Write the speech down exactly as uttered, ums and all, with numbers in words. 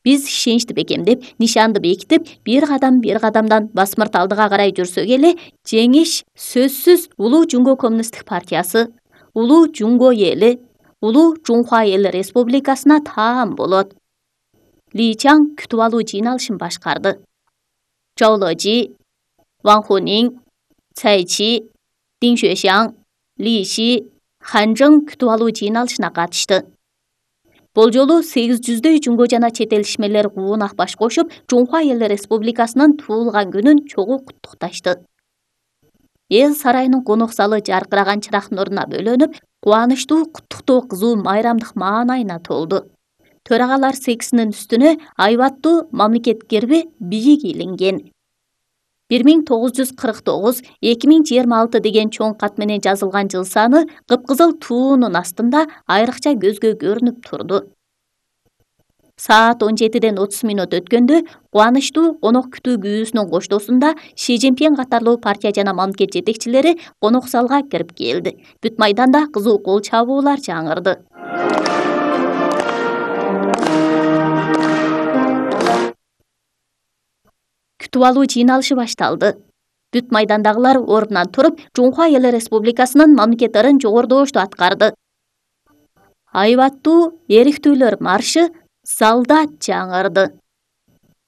Биз ишеничти бекемдеп, нишанды бекитип, бир кадам бир кадамдан басмырт алдыга карай жүрсөк эле, жеңиш сөзсүз Улуу Жумго Коммунисттик партиясы, Улуу Жумго эли, Улуу Жунхва эл республикасына таан болот. Ли Чаң күтүп алуу жыйналышын башкарды. Чжоу Лежи, Ван Хунин, Цай Чи, Дин Xuexiang, Ли Ши, Хан Жың күтүп алуу жыйналышына катышты. Бул жолу сегиз жүздөй жумго жана чет эл ишмерлер куунак баш кошуп, Жунхва эл республикасынын туулган күнүн чогуу куттукташты. Эл сарайынын конок залы жаркыраган чырак нуруна бөлөнүп, кубанычтуу куттуктоо кызуу майрамдык маанайына толду. Төрагалар секисинин үстүнө айбаттуу мамлекет герби бийик илинген. бир миң тогуз жүз кырк тогуз эки миң жыйырма алты деген чоң кат менен жазылган жыл саны кыпкызыл туунун астында айрыкча көзгө көрүнүп турду. Саат он жетиден отуз мүнөт өткөндө кубанычтуу конок күтүү күүсүнүн коштоосунда Ши Цзиньпин катарлуу партия жана мамлекет жетекчилери конок залга кирип келди. Бүт майданда кызуу кол чабуулар жаңырды. Күтүп алуу жыйналышы башталды. Бүт майдандагылар ордунан туруп, Жунхва эл республикасынын мамлекеттерин жогордошту аткарды. Айбаттуу эриктүүлөр маршы залда жаңырды.